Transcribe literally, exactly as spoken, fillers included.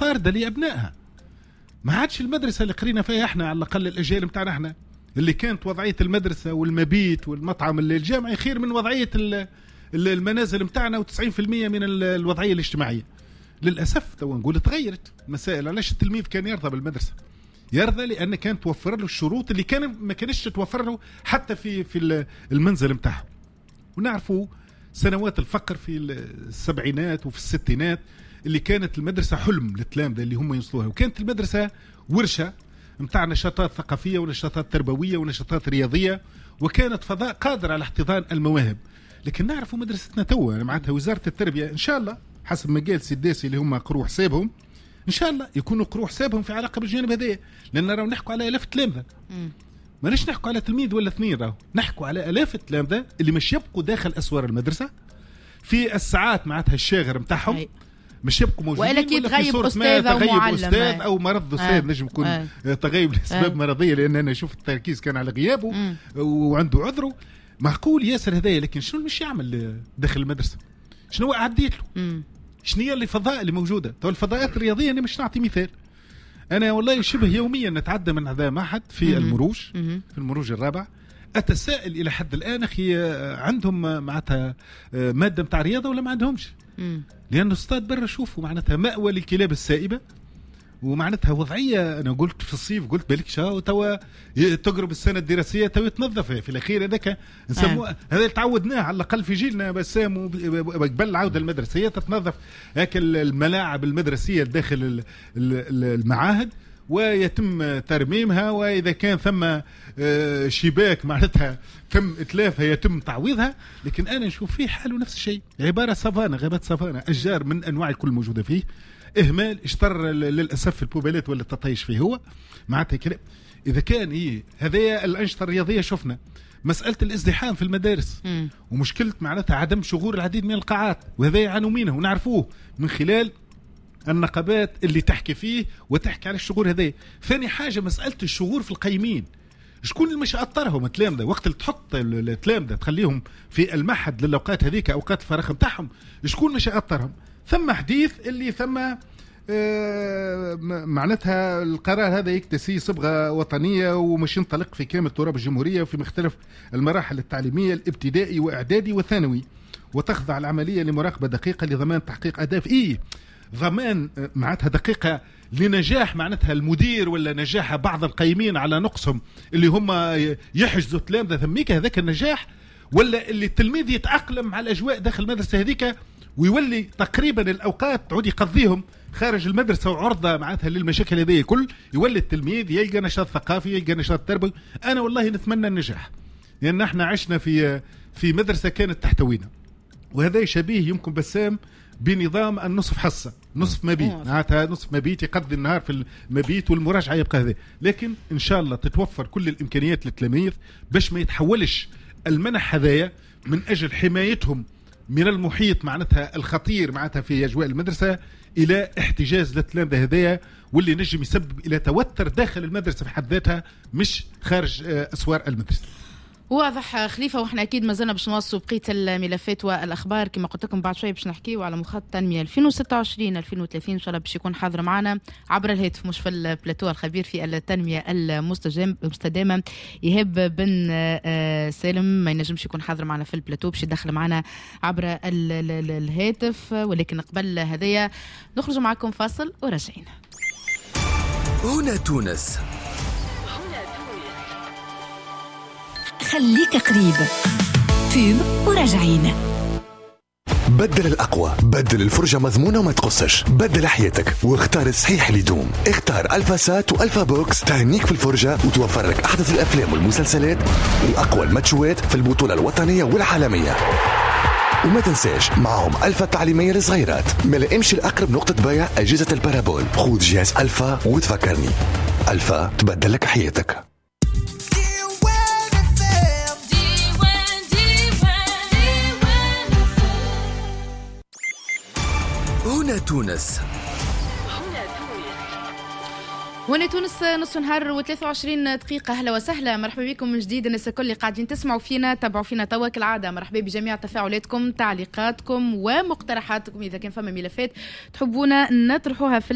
مطاردة لابنائها. ما عادش المدرسة اللي قرينا فيها احنا، على الاقل الاجيال نتاعنا احنا، اللي كانت وضعية المدرسة والمبيت والمطعم الجامعي خير من وضعية المنازل نتاعنا وتسعين في المية من الوضعية الاجتماعية. للاسف تو نقول تغيرت مسائل. علاش التلميذ كان يرضى بالمدرسة؟ يرضى لان كانت توفر له الشروط اللي كان ما كانتش تتوفر له حتى في في المنزل نتاعه. ونعرفوا سنوات الفقر في السبعينات وفي الستينات اللي كانت المدرسة حلم للتلامذه اللي هم يوصلوها، وكانت المدرسة ورشه نتاع نشاطات ثقافية ونشاطات تربوية ونشاطات رياضية، وكانت فضاء قادر على احتضان المواهب. لكن نعرفوا مدرستنا توا معناتها وزارة التربية ان شاء الله حسب ما قال سيداسي اللي هم قروا حسابهم، ان شاء الله يكونوا قروا حسابهم في علاقة بالجانب هذايا، لان راهو نحكوا على الاف التلامذه، ماناش نحكوا على تلميذ ولا اثنين، راهو نحكوا على الاف التلامذه اللي مش يبقوا داخل اسوار المدرسة في الساعات معناتها الشاغر نتاعهم، مش يبقوا موجودين، ولا كي تغيب استاذ او معلم، استاذ او مرض استاذ نجم يكون آه. تغيب لاسباب آه. مرضية، لان انا شفت التركيز كان على غيابه مم. وعنده عذره معقول ياسر هذايا. لكن شنو مش يعمل داخل المدرسة؟ شنو عديت له؟ شنو هي الفضاء اللي موجودة؟ تو الفضاءات الرياضية انا مش نعطي مثال، انا والله شبه يوميا نتعدى من هذا معهد في مم. المروج، مم. في المروج الرابع، اتساءل الى حد الان اخي عندهم معناتها مادة نتاع رياضة ولا ما عندهمش؟ لأن الاستاد برا شوفوا معناتها مأوى للكلاب السائبة، ومعناتها وضعية. أنا قلت في الصيف قلت بالك شا توا تقرب السنة الدراسية توا يتنظف في الأخير هذاك نسموه آه. هذا اللي تعودناه على الأقل في جيلنا بسام قبل العودة المدرسية تتنظف هاك الملاعب المدرسية داخل المعاهد ويتم ترميمها، وإذا كان ثم شباك معناتها تم إتلافها يتم تعويضها. لكن أنا نشوف فيه حاله نفس الشيء، عبارة سافانا، غابات سافانا، أشجار من أنواع الكل موجودة فيه، إهمال، اشتر للأسف البوبالات ولا التطيش فيه هو معناتها كلام. إذا كان إيه هذايا الأنشطة الرياضية، شفنا مسألة الازدحام في المدارس م. ومشكلة معناتها عدم شغور العديد من القاعات، وهذا يعانوا منه ونعرفوه من خلال النقابات اللي تحكي فيه وتحكي على الشغور هذا. ثاني حاجة مسألة الشغور في القيمين، شكون اللي مش أطرهم التلامذة وقت اللي تحط التلامذة تخليهم في المعهد للأوقات هذيك أوقات الفراغ نتاعهم، شكون مش أطرهم؟ ثم حديث اللي ثم آه معناتها القرار هذا يكتسي صبغة وطنية ومش ينطلق في كامل تراب الجمهورية وفي مختلف المراحل التعليمية الابتدائي وإعدادي وثانوي، وتخضع العملية لمراقبة دقيقة لضمان تحقيق أهداف. إيه ضمان معناتها دقيقة لنجاح معناتها المدير ولا نجاح بعض القيمين على نقصهم اللي هم يحجزوا تلامذة ثميك هذاك النجاح، ولا اللي التلميذ يتأقلم مع الأجواء داخل المدرسة هذيك ويولي تقريبا الأوقات تعود يقضيهم خارج المدرسة وعرضة معناتها للمشاكل هذه كل، يولي التلميذ يلقى نشاط ثقافي يلقى نشاط تربوي. أنا والله نتمنى النجاح، لأن احنا عشنا في في مدرسة كانت تحتوينا، وهذا شبيه يمكن بسام بنظام النصف حصة نصف مبيت، معناتها نصف مبيت يقضي النهار في المبيت والمراجعة يبقى هذا. لكن إن شاء الله تتوفر كل الإمكانيات للتلاميذ باش ما يتحولش المنح هذايا من أجل حمايتهم من المحيط معناتها الخطير معناتها في أجواء المدرسة إلى احتجاز للتلامذة هذايا، واللي نجم يسبب إلى توتر داخل المدرسة في حد ذاتها مش خارج أسوار المدرسة. واضح خليفة، واحنا اكيد مازلنا باش نواصلوا بقية الملفات والاخبار كما قلت لكم بعد شوية باش نحكيو على مخطط التنمية ألفين وستة وعشرين ألفين وثلاثين ان شاء الله باش يكون حاضر معنا عبر الهاتف مش في البلاتو الخبير في التنمية المستدامة ايهاب بن سالم، ما ينجمش يكون حاضر معنا في البلاتو باش يدخل معنا عبر الهاتف، ولكن قبل هذايا نخرج معكم فاصل وراجعين. هنا تونس، خليك قريب pub وراجعين. بدل الأقوى، بدل الفرجة مضمونة وما تقصش، بدل حياتك واختار الصحيح اللي يدوم. اختار ألفا سات وألفا بوكس، تهنيك في الفرجة وتوفر لك أحدث الأفلام والمسلسلات وأقوى الماتشوات في البطولة الوطنية والعالمية. وما تنساش معهم ألفا التعليمية للصغيرات. ما امشي لأقرب نقطة بيع أجهزة ال parabole، خذ جهاز ألفا وتفكرني. ألفا تبدل لك حياتك. هنا تونس، هنا تونس، نص نهار وثلاثة وعشرين دقيقة. أهلا وسهلا، مرحبا بكم من جديد الناس الكل اللي قاعدين تسمعوا فينا تابعوا فينا توا كالعادة. مرحبا بجميع تفاعلاتكم تعليقاتكم ومقترحاتكم، إذا كان فما ملفات تحبونا نطرحوها في